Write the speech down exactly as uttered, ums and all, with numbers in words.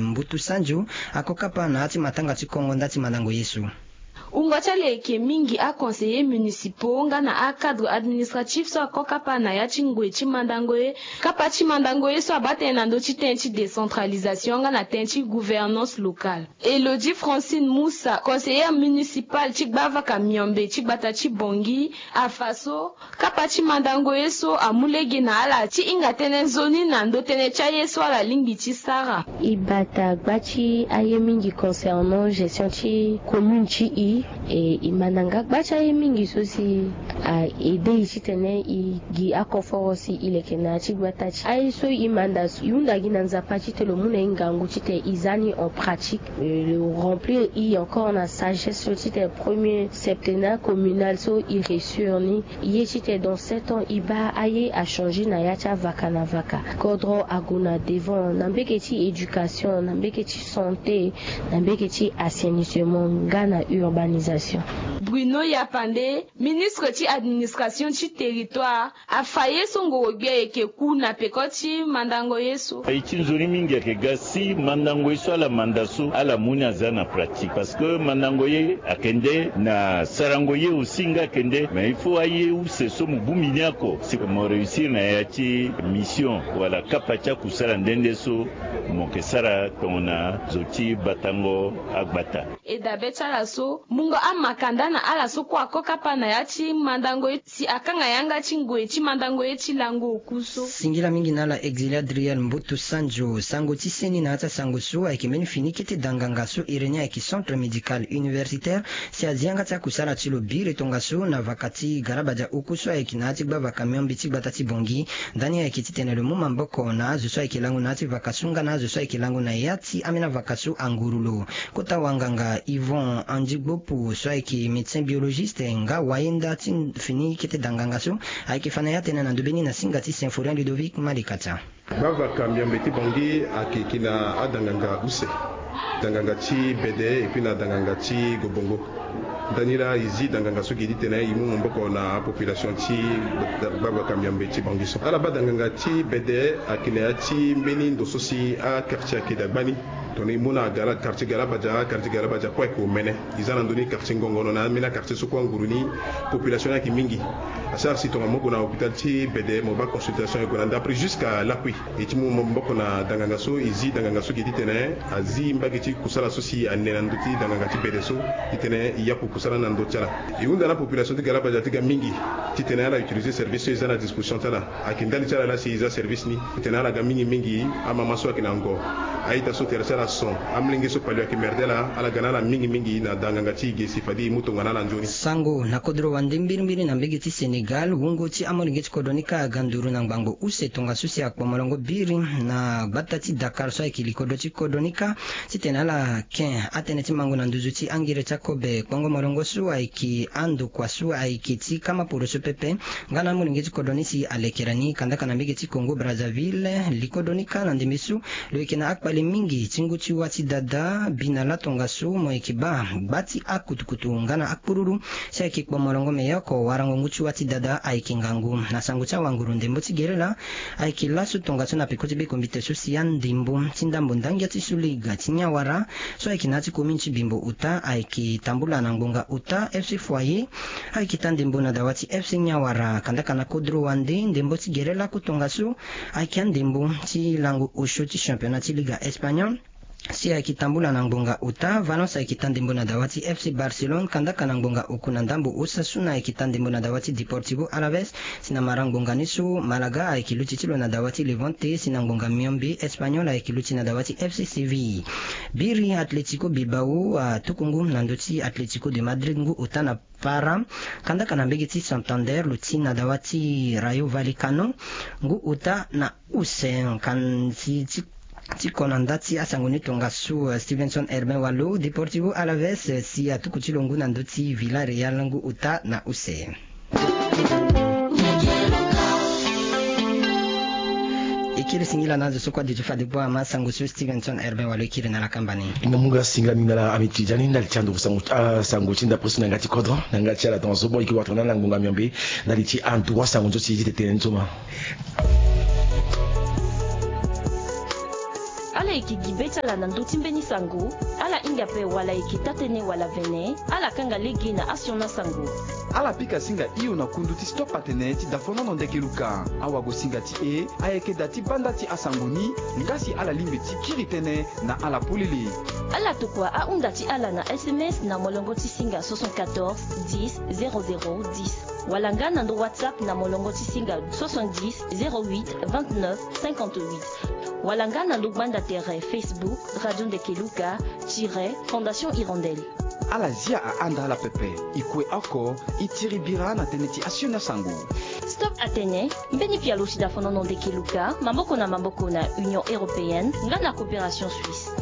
Mbutu Sanjo, ako kapa na ya ti matanga ti kongo nda ti mandango ye so. Wungo ti ala eke mingi aconseillers municipaux nga na acadres administratifs so ako kapa na ya ti ngoi ti mandango ye. Kapa ti mandango ye so abaa tënë na ndö ti tënë ti décentralisation nga na tënë ti gouvernance locale. Elodie Francine Moussa, conseillère municipale ti gbavaka miombe ti gbata ti Bangui, afa so kapa ti mandango ye so amu lege na ala ti hinga tënë nzoni na ndö tënë ti aye so ala lingbi ti sara. E bata gba ti aye mingi concernant gestion ti commune ti e. E, e manda nga gba ti aye mingi so si a aidé e titene e gi akoforo si e leke na ya ti gbata ti aye so e manda so e hunda gi na Nzapa titene lo mu na e ngangu titene e za ni en pratique. E, lo remplir e encore na sagesse so titene premier septennat communal so e réussir ni. Ye titene dans sept ans e baa aye achanger na ya ti avaka na vaka. Kodro ague na devant na mbege ti éducation, na mbege ti santé, na mbege ti assainissement nga na urbanisation. Bruno Yapande, ministre ti administration ti territoire, afa ye so ngoro-gbia eke ku na peko ti mandango ye so. Aye ti nzoni mingi ayeke ga si mandango ye so ala manda so ala mu ni aza na pratique, parce que mandango ye ayeke nde na sarango ye aussi nga ayeke nde, mais il faut aye use so mo bongbi ni oko si mo réussir na ya ti mission wala kapa ti akusala nde nde so mo yeke sara tongana zo ti batango agbata. E dabe ti ala so mungo amaka nda na ala so kue ako kapa na ya ti mandango ye si akanga yanga ti ngoi ti mandango ye ti lango oku so. Singila mingi na ala Exilia Driel Mbutu Sanjo. Sango ti seni na ya ti asango so ayeke mbeni fini kete danganga so iri ni ayeke centre médical universitaire, si azi yanga ti akusala ti lo biri tongaso na vaka ti garabadia oku so ayeke na ya ti gbavaka miombe ti gbata ti Bangui. Ndani ayeke titene lo mu maboko na azo so ayeke lango na ya ti vaka so nga na azo so ayeke lango na ya ti ambeni avaka so anguru lo. Kota wanganga Yvon Andigbopu so ayeke médecin biologiste nga wayenda ti fini kete danganga so ayeke fa na ya tënë na ndo beni na singa ti Symphorien Ludovic Malikatia. Gbavaka miombe ti Bangui ayeke na adanganga use, danganga ti bede et puis na danganga ti gobongo. Ndani laa e zi danganga so gi titene e mu maboko na apopulation ti gbavaka miombe ti Bangui so. Ala baa danganga ti bede ayeke na ya ti mbeni ndo so si aquartier ayeke dagbani. Tongana e mu na gala quartier galabadia, quartier galabadia kue ayeke omene. E za na ndö ni quartier ngongono na ambeni aquartier so kue anguru ni, population ni ayeke mingi. Asara si tongana mo gue na hôpital ti bede mo baa consultation e gue na ndapre jusqu'à lakui. E ti mu maboko na danganga so e zi danganga so gi titene azi mbage ti kusala so si ane na ndö ti danganga ti bede so, titene e yaku kusala na ndö ti ala. E hunda na population ti galabadia ti ga mingi titene ala utiliser service so e za na disposition ti ala. Ayeke ndali ti ala laa si e za service ni titene ala ga mingi mingi amama so ayeke na ngo, a-ita so tere ti ala son, amolenge so palio ayeke merde ala, ala ga na ala mingi mingi na danganga ti e ge si fade e mu tongana ala nzoni. Sango na kodro wande mbirimbiri na mbege ti Sénégal, wungo ti amolenge ti kodro ni kâ aga nduru na ngbangbo use tongaso si akpo molongo biri na gbata ti Dakar so ayeke likodro ti kodro ni kâ, titene ala ken atënë ti mango na nduzu ti angere ti akobe. Kpongo molongo so ayeke andokua so ayeke ti kama poro so pepe, nga na amolenge ti kodro ni si alekere ni kandaka na mbege ti Congo Brazzaville. Likodro ni kâ na ndembe so lo yeke na akpale mingi ti ngu ti wâ ti dada bi na lâ tongaso mo yeke baa gba ti akutukutu nga na akpururu. Si ayeke kpo molongo me ye oko warango ngu ti wâ ti dada ayeke ngangu. Na sango ti awanguru ndembo ti gere laa ayeke laso tongaso na peko ti bekombite so si andembo ti ndambo ndangia ti Suliga ti Niawara so ayeke na ya ti commune ti Bimbo Ota ayeke tambula na ngbonga Ota F C Foyer. Ayeke taa ndembo na dawa ti F C Niawara kandaka na kodro wande ndembo ti gere lako tongaso. Ayeke andembo ti lango osio ti championnat ti Liga Espagnol. Si ayeke tambula na ngbonga ota, Valence ayeke taa ndembo na dawa ti F C Barcelone kandaka na ngbonga oku na ndambo. Osasuna ayeke taa ndembo na dawa ti Deportivo Alaves. Si na mara ngbonga ni so Malaga ayeke luti ti lo na dawa ti Levante. Si na ngbonga miombe Espagnol ayeke luti na dawa ti F C Séville. Biri Atletico Bilbao atuku ngu na ndö ti Atletico de Madrid ngu ota na para. Kandaka na mbege ti Santander lo ti na dawa ti Rayo Vallecano ngu ota na use. Kan ti ti ti ko na nda ti asango ni tongaso, Stevenson Herbin Walo. Deportivo Alaves si atuku ti lo ngu na ndö ti Villarreal ngu ota na use. E kiri singila na azo so kue aduti fade kua ama asango so Stevenson Herbin Walo e kiri na ala kamba ni. E na mu nga singila mingi na ala ami ti zia ni ndali ti ando sango ti ndapre so na yanga ti kodro na yanga ti ala tongaso mo yeke wara tongana ala ngbonga miombe ndali ti ando asango so si e ti tene ni so ma. Yeke gi be ti ala na ndö ti mbeni sango, ala hinga ape wala yeke taa-tënë wala vene, ala kanga lege na asioni asango. Ala pika singa hio na kundu ti Stop Atene ti Dafonono Ndekeluka. Awagosinga ti e ayeke daa ti banda ti asango ni, nga si ala lingbi ti kiri tënë na ala polele. Ala tokua ahunda ti ala na S M S na molongo ti singa soixante-quatorze dix zéro zéro dix, wala nga na ndö WhatsApp na molongo ti singa soixante-dix zéro huit vingt-neuf cinquante-huit, wala nga na ndö gbanda tere Facebook Radio Ndekeluka tiret Fondation Hirondelle. Ala zia ahanda ala pepe, e kue oko e tiri bira na tënë ti asioni asango. Stop Atene, mbeni pialo ti Dafonono Ndekeluka, maboko na maboko na Union Européenne nga na Coopération Suisse.